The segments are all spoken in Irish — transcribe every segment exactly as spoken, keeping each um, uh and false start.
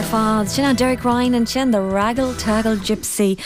fad. Sin an Derek Ryan ansin the Raggle Taggle Gypsy.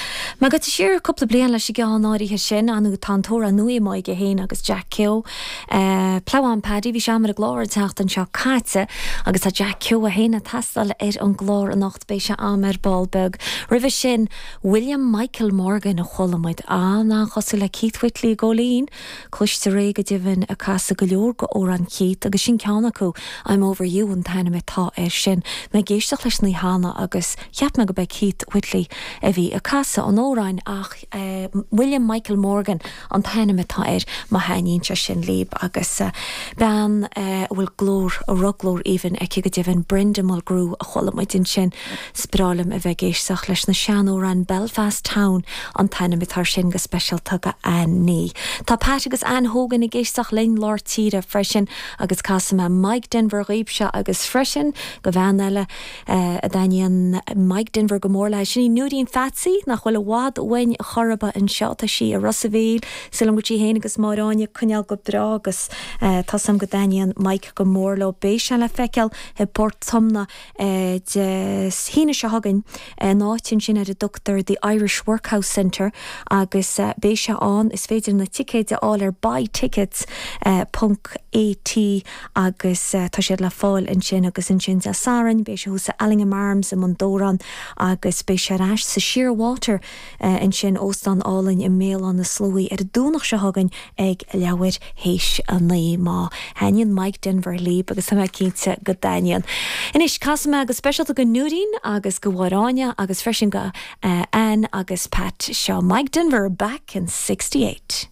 Má go siar cúpla bliain leis an gceann áirithe sin an tá tóra nua aige féin agus Jack Keogh. Uh, Pléán Paddy bhí sé ar an gclár an tseachtain seo caite agus tá Jack Keogh féin ag taisteal ar an gclár anocht beidh sé am ar ball beag. Roimhe sin William Michael Morgan a chuala muid an-chosúil le Keith Whitley gólín, Cloiste ré go deimhin ag casadh go leor d'amhráin Keith agus sin ceann acu I'm over you an t-ainm atá air sin. Mé ag éisteacht leis na hána agus cheap mé go b'é Keith Whitley a bhí ag casadh an amhráin ach uh, William Michael Morgan an t-ainm atá air má thaitníonn sé sin libh agus uh, bean uh, bhfuil glór a rugglór even aici go deimhin Brenda Mulgrew a chuala muid ansin is breá liom a bheith ag éisteacht leis na seanamhráin Belfast Town an t-ainm atá sin go speisialta go Ann ní. Tá Pat agus Ann Hogan ag éisteacht linn lár tíre freisin agus casfaidh mé Mike Denver daoibhse agus freisin go bhean eile uh, a dtaitníonn Mike Denver go mór léi sin í Nuaín Fatsaí nach bhfuil i bhfad uainn chorba anseo tá sí i Ros an Mhíl sílim go sí féin agus Máráine coinneal go breá agus uh, tá sam go dtaitníonn Mike go mór leo beidh sé le feiceáil i bPort Tomna uh, Dé hAoine seo chugainn an áit sin ar a dtugtar the Irish Workhouse Centre agus uh, beidh sé ann is féidir na ticéid a fháil ar buy tickets uh, ponc AT agus uh, tá siad le fáil ansin agus ansin Dé Sathairn, beidh sé thuas sa Allingham Arms i mBun Dobhráin agus beidh sé ar ais sa Shearwater uh, ansin óstán álainn i mBéal Átha na Sluaighe ar an Domhnach seo chugainn ag leathuair théis a naoi má thaitníonn Mike Denver libh agus tá mé cinnte go dtaitníonn. Anois casfaidh mé go speisialta go Nuaín agus go Mháráine agus freisin go uh, Ann agus Pat seo Mike Denver back in sixty-eight.